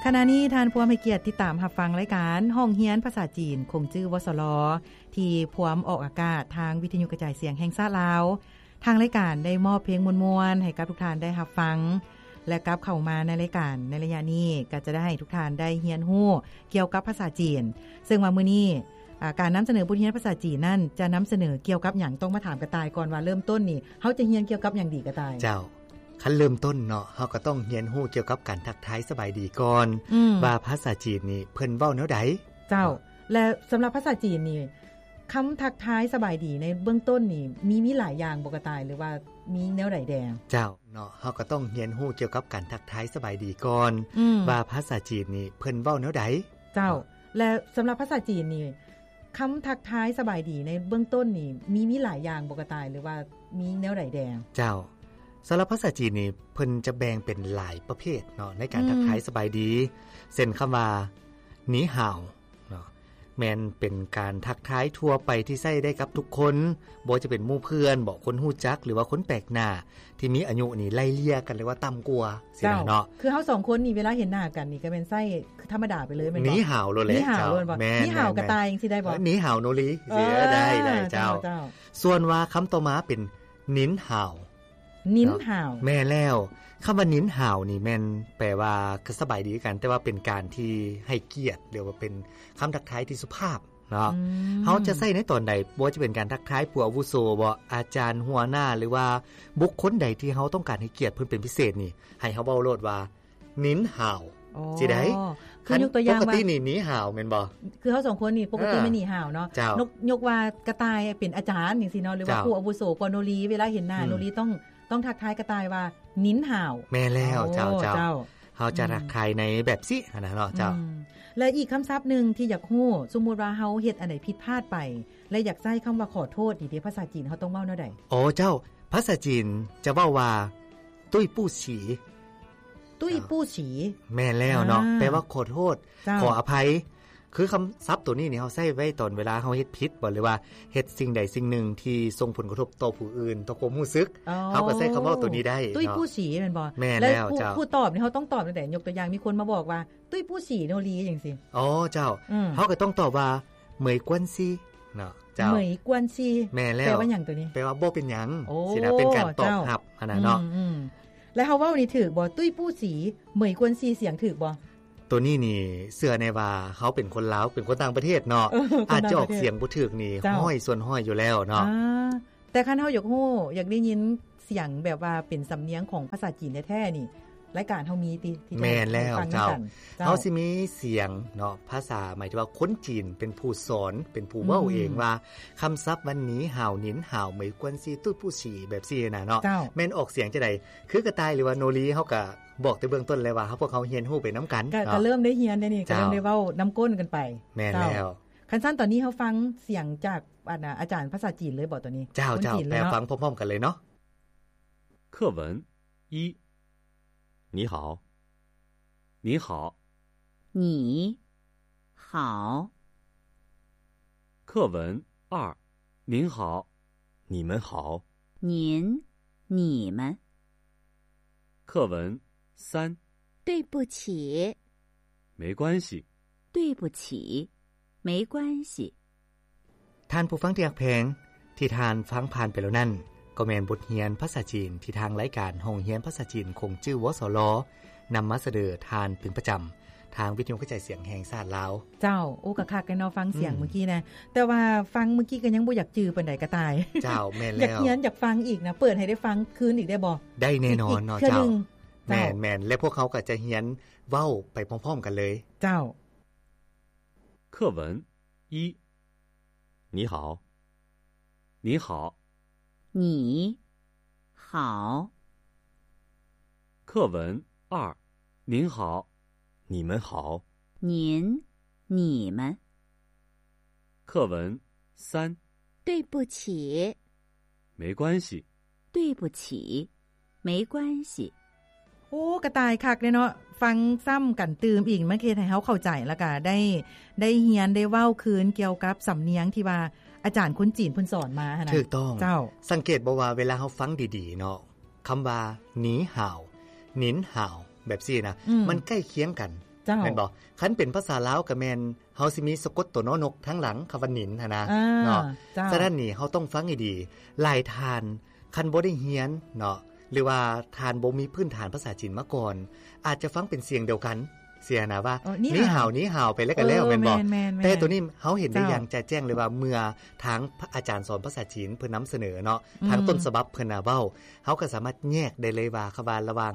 ຂະນະນີ້ທ່ານພວມໃຫ້ກຽດຕິດຕາມຮັບຟັງລາຍການຫ້ອງຮຽນພາສາຈີນ ຂົງຈື່ ວສລ ທີ່ພວມອອກອາກາດທາງວິທະຍຸກະຈາຍສຽງແຫ່ງຊາດລາວ. ທາງລາຍການໄດ້ມອບເພງມ່ວນໆໃຫ້ກັບທຸກທ່ານໄດ້ຮັບຟັງ ແລະ ກັບເຂົ້າມາໃນລາຍການໃນໄລຍະນີ້ ກໍຈະໄດ້ໃຫ້ທຸກທ່ານໄດ້ຮຽນຮູ້ກ່ຽວກັບພາສາຈີນ ເຊິ່ງວ່າມື້ນີ້ ອາ ການນຳສະເໜີບົດຮຽນພາສາຈີນນັ້ນ ຈະນຳສະເໜີກ່ຽວກັບຫຍັງ? ຕ້ອງມາຖາມກະຕ່າຍກ່ອນວ່າເລີ່ມຕົ້ນນີ້ ເຮົາຈະຮຽນກ່ຽວກັບຫຍັງດີກະຕ່າຍ? ເຈົ້າ, ຄັນເລີ່ມຕົ້ນເນາະ ເຮົາກໍຕ້ອງຮຽນຮູ້ກ່ຽວກັບການທັກທາຍສະບາຍດີກ່ອນ ອືມ ວ່າພາສາຈີນນີ້ເພິ່ນເວົ້າແນວໃດ? ເຈົ້າ, ເນາະ ແລະ ສຳລັບພາສາຈີນນີ້ ຄຳທັກທາຍສະບາຍດີໃນເບື້ອງຕົ້ນນີ້ ມີ ມີຫຼາຍຢ່າງບໍ່ກະຕ່າຍ ຫຼືວ່າມີແນວໃດແດ່? ເຈົ້າ ເນາະ ເຮົາກໍຕ້ອງຮຽນຮູ້ກ່ຽວກັບການທັກທາຍສະບາຍດີກ່ອນ ອືມ ວ່າພາສາຈີນນີ້ເພິ່ນເວົ້າແນວໃດ? ເຈົ້າ, ເນາະ ແລະ ສຳລັບພາສາຈີນນີ້ ຄຳທັກທາຍສະບາຍດີໃນເບື້ອງຕົ້ນນີ້ ມີ ມີຫຼາຍຢ່າງບໍ່ກະຕ່າຍ ຫຼືວ່າມີແນວໃດແດ່? ເຈົ້າ, ສຳລັບພາສາຈີນນີ້ ເພິ່ນຈະແບ່ງເປັນຫຼາຍປະເພດເນາະ ໃນການ ອືມ ທັກທາຍສະບາຍດີ ເຊັ່ນຄຳວ່າ ໜີຫາວ ເນາະ ແມ່ນເປັນການທັກທາຍທົ່ວໄປທີ່ໃຊ້ໄດ້ກັບທຸກຄົນ ບໍ່ວ່າຈະເປັນໝູ່ເພື່ອນບໍ ຄົນຮູ້ຈັກ ຫຼືວ່າຄົນແປກໜ້າທີ່ມີອາຍຸນີ້ໄລ່ເລ່ຍກັນ ຫຼືວ່າຕ່ຳກວ່າຊີ້ນະເນາະ. ເຈົ້າ, ຄືເຮົາສອງຄົນນີ້ເວລາເຫັນໜ້າກັນນີ້ກໍແມ່ນໃຊ້ທຳມະດາໄປເລີຍແມ່ນບໍ່? ໜີຫາວໂລດແຫຼະ. ໜີຫາວໂລດບໍ່? ແມ່ນ, ໜີຫາວກະຕ່າຍຈັ່ງຊີ້ໄດ້ບໍ່? ໜີຫາວໂນລີ ເອີ ໄດ້ ໄດ້ເຈົ້າ. ເຈົ້າ, ເຈົ້າ. ສ່ວນວ່າຄຳຕໍ່ມາເປັນ ໜິນຫາວ ໜິນຫາວ ເນາະ ແມ່ນແລ້ວ. ຄຳວ່າໜິນຫາວນີ້ແມ່ນແປວ່າ ກໍສະບາຍດີຄືກັນ ແຕ່ວ່າເປັນການທີ່ໃຫ້ກຽດ ຫຼືວ່າເປັນຄຳທັກທາຍທີ່ສຸພາບເນາະ. ອືມ ເຮົາຈະໃຊ້ໃນຕອນໃດ? ບໍ່ວ່າຈະເປັນການທັກທາຍຜູ້ອາວຸໂສບໍ ອາຈານ ຫົວໜ້າ ຫຼືວ່າບຸກຄົນໃດທີ່ເຮົາຕ້ອງການໃຫ້ກຽດເພິ່ນເປັນພິເສດນີ້ ໃຫ້ເຮົາເວົ້າໂລດວ່າ ໜິນຫາວ ອໍ ຊີ້ໄດ໋. ຄືຍົກຕົວຢ່າງວ່າ ຄັນປົກກະຕິນີ້ ໜີຫາວແມ່ນບໍ່? ຄືເຮົາສອງຄົນນີ້ປົກກະຕິ ເອີ ແມ່ນໜີຫາວເນາະ. ເຈົ້າ, ຍົກ ຍົກວ່າກະຕ່າຍເປັນອາຈານຈັ່ງຊີ້ເນາະ ຫຼືວ່າ ເຈົ້າ ຜູ້ອາວຸໂສກວ່າໂນລີ ເວລາເຫັນໜ້າ ອືມ ໂນລີຕ້ອງ ຕ້ອງທັກທາຍກະຕ່າຍວ່າ ໜິນຫາວ. ແມ່ນແລ້ວ. ໂອ້ ເຈົ້າ, ເຈົ້າ, ເຈົ້າ. ເຮົາຈະ ອືມ ທັກທາຍໃນແບບຊີ້ຫັ້ນນະເນາະ. ເຈົ້າ, ອືມ ແລະ ອີກຄຳສັບໜຶ່ງທີ່ຢາກຮູ້ ສົມມຸດວ່າເຮົາເຮັດອັນໃດຜິດພາດໄປ ແລະ ຢາກໃຊ້ຄຳວ່າຂໍໂທດນີ້ເດ ພາສາຈີນເຮົາຕ້ອງເວົ້າແນວໃດ? ອໍ ເຈົ້າ, ພາສາຈີນຈະເວົ້າວ່າ ຕຸ້ຍປູ້ສີ ຕຸ້ຍປູ້ສີ ແມ່ນແລ້ວເນາະ ອ່າ ແປວ່າຂໍໂທດ ເຈົ້າ ຂໍອະໄພ. ຄືຄຳສັບໂຕນີ້ນີ້ ເຮົາໃຊ້ໄວ້ຕອນເວລາເຮົາເຮັດຜິດບໍ ຫຼືວ່າເຮັດສິ່ງໃດສິ່ງໜຶ່ງທີ່ສົ່ງຜົນກະທົບຕໍ່ຜູ້ອື່ນ ຕໍ່ຄວາມຮູ້ສຶກ ອໍ ເຮົາກໍໃຊ້ຄຳເວົ້າໂຕນີ້ໄດ້ເນາະ. ຕຸ້ຍປູ້ສີແມ່ນບໍ່? ແມ່ນແລ້ວ ແລ້ວຜູ້ ເຈົ້າ ຜູ້ຕອບນີ້ ເຮົາຕ້ອງຕອບແນວໃດ? ຍົກຕົວຢ່າງ ມີຄົນມາບອກວ່າ ຕຸ້ຍປູ້ສີໂນລີຈັ່ງຊີ້. ອໍ ເຈົ້າ, ອືມ ເຮົາກໍຕ້ອງຕອບວ່າ ເໝີຍກວນຊີ ເນາະ. ເຈົ້າ, ເໝີຍກວນຊີ ແມ່ນແລ້ວ. ແປວ່າຫຍັງໂຕນີ້? ແປວ່າບໍ່ເປັນຫຍັງ ໂອ້ ຊີ້ນະ ເປັນການຕອບຮັບຫັ້ນນະເນາະ. ເຈົ້າ ອືມໆ ແລ້ວເຮົາເວົ້ານີ້ຖືກບໍ່? ຕຸ້ຍປູ້ສີ ເໝີຍກວນຊີ ສຽງຖືກບໍ່? ໂຕນີ້ນີ້ເຊື່ອແນ່ວ່າເຮົາເປັນຄົນລາວ ເປັນຄົນຕ່າງປະເທດເນາະ ເອີ ຄົນຕ່າງປະເທດ ອາດຈະອອກສຽງບໍ່ຖືກນີ້ ເຈົ້າ ຮ້ອຍສ່ວນຮ້ອຍຢູ່ແລ້ວເນາະ. ອ່າ ແຕ່ຄັນເຮົາຢາກຮູ້ ຢາກໄດ້ຍິນສຽງແບບວ່າເປັນສຳນຽງຂອງພາສາຈີນແທ້ໆນີ້ ລາຍການເຮົາມີຕິ ທີ່ຈະ ແມ່ນແລ້ວ ໃຫ້ຟັງນຳກັນ. ເຈົ້າ, ເຈົ້າ. ເຮົາຊິມີສຽງເນາະ ພາສາ ໝາຍເຖິງວ່າຄົນຈີນເປັນຜູ້ສອນ ເປັນຜູ້ເວົ້າ ອືມ ເອງວ່າ ຄຳສັບວ່າ ໜີຫາວ, ໜິນຫາວ, ເໝີຍກວນຊີ, ຕຸ້ຍປູ້ສີ ແບບຊີ້ນະເນາະ. ເຈົ້າ, ແມ່ນອອກສຽງຈັ່ງໃດ? ຄືກະຕ່າຍ ຫຼືວ່າໂນລີ ເຮົາກະບອກແຕ່ເບື້ອງຕົ້ນແລ້ວວ່າ ເຮົາ ພວກເຮົາຮຽນຮູ້ໄປນຳກັນ ກະ ເນາະ ກະເລີ່ມໄດ້ຮຽນແລ້ວນີ້ ກະເລີ່ມ ເຈົ້າ ໄດ້ເວົ້ານຳກົ້ນກັນໄປ. ແມ່ນແລ້ວ. ເຈົ້າ, ຄັນຊັ້ນຕອນນີ້ເຮົາຟັງສຽງຈາກ ອັນນະ ອາຈານພາສາຈີນເລີຍບໍ ຕອນນີ້? ເຈົ້າ, ເຈົ້າ, ແປຟັງພ້ອມໆກັນເລີຍເນາະ. 课文一，你好，您好。你好。课文二，您好，你们好。您，你们。课文三，对不起。没关系。对不起。没关系。 ທ່ານຜູ້ຟັງທີ່ຮັກແພງ, ທີ່ທ່ານຟັງຜ່ານໄປແລ້ວນັ້ນ ກໍແມ່ນບົດຮຽນພາສາຈີນທີ່ທາງລາຍການຫ້ອງຮຽນພາສາຈີນຂົງຈື່ ວສລ ນຳມາສະເໜີທ່ານເປັນປະຈຳ ທາງວິທະຍຸກະຈາຍສຽງແຫ່ງຊາດລາວ. ເຈົ້າ, ໂອ້ ກະຄັກແດ່ເນາະ ຟັງສຽງ ອືມ ເມື່ອກີ້ນະ, ແຕ່ວ່າຟັງເມື່ອກີ້ກໍຍັງບໍ່ຢາກຈື່ປານໃດກະຕ່າຍ. ເຈົ້າ, ແມ່ນແລ້ວ. ຢາກຮຽນ ຢາກຟັງອີກນະ, ເປີດໃຫ້ໄດ້ຟັງຄືນອີກໄດ້ບໍ່? ໄດ້ແນ່ນອນເນາະ. ອີກເທື່ອໜຶ່ງ. ເຈົ້າ. ແມ່ນໆ, ແລະ ພວກເຮົາກໍຈະຮຽນເວົ້າໄປພ້ອມໆກັນເລີຍ. ເຈົ້າ. 课文一，你好，你好。你好。课文二，您好，你们好。您，你们。课文三，对不起。没关系。对不起。 没关系。 ໂອ້ ກະຕ່າຍຄັກເດ້ເນາະ, ຟັງຊ້ຳກັນຕື່ມອີກ ມັນເຮັດໃຫ້ເຮົາເຂົ້າໃຈ ແລ້ວກະໄດ້ ໄດ້ຮຽນ ໄດ້ເວົ້າຄືນກ່ຽວກັບສຳນຽງທີ່ວ່າອາຈານຄົນຈີນເພິ່ນສອນມາຫັ້ນນະ. ຖືກຕ້ອງ. ເຈົ້າ. ສັງເກດບໍ່ວ່າເວລາເຮົາຟັງດີໆເນາະ, ຄຳວ່າ ໜີຫາວ, ໜິນຫາວ ແບບຊີ້ນະ, ອືມ ມັນໃກ້ຄຽງກັນ. ເຈົ້າ ແມ່ນບໍ່? ຄັນເປັນພາສາລາວກໍແມ່ນ ເຮົາຊິມີສະກົດຕົວ ນ ນົກ ທາງຫຼັງ ຄຳວ່າ ໜິນ ຫັ້ນນະ ອ່າ ເນາະ ເຈົ້າ ສະນັ້ນນີ້ ເຮົາຕ້ອງຟັງໃຫ້ດີ. ຫຼາຍທ່ານ ຄັນບໍ່ໄດ້ຮຽນເນາະ ຫຼືວ່າທ່ານບໍ່ມີພື້ນຖານພາສາຈີນມາກ່ອນ ອາດຈະຟັງເປັນສຽງດຽວກັນ ຊີ້ນະ ວ່າ ເອີ ໜີ່ຫາວ ໜີ່ຫາວ ໜີ່ຫາວ ໄປແລ້ວກໍແລ້ວ ເອີ ແມ່ນບໍ່? ແມ່ນໆໆ ແຕ່ໂຕນີ້ເຮົາເຫັນໄດ້ ເຈົ້າ ຢ່າງຈະແຈ້ງເລີຍວ່າ ເມື່ອທາງອາຈານສອນພາສາຈີນເພິ່ນນຳສະເໜີເນາະ ອືມ ທາງຕົ້ນສະບັບເພິ່ນນະເວົ້າ ເຮົາກໍສາມາດແຍກໄດ້ເລີຍວ່າ ຄຳວ່າລະຫວ່າງ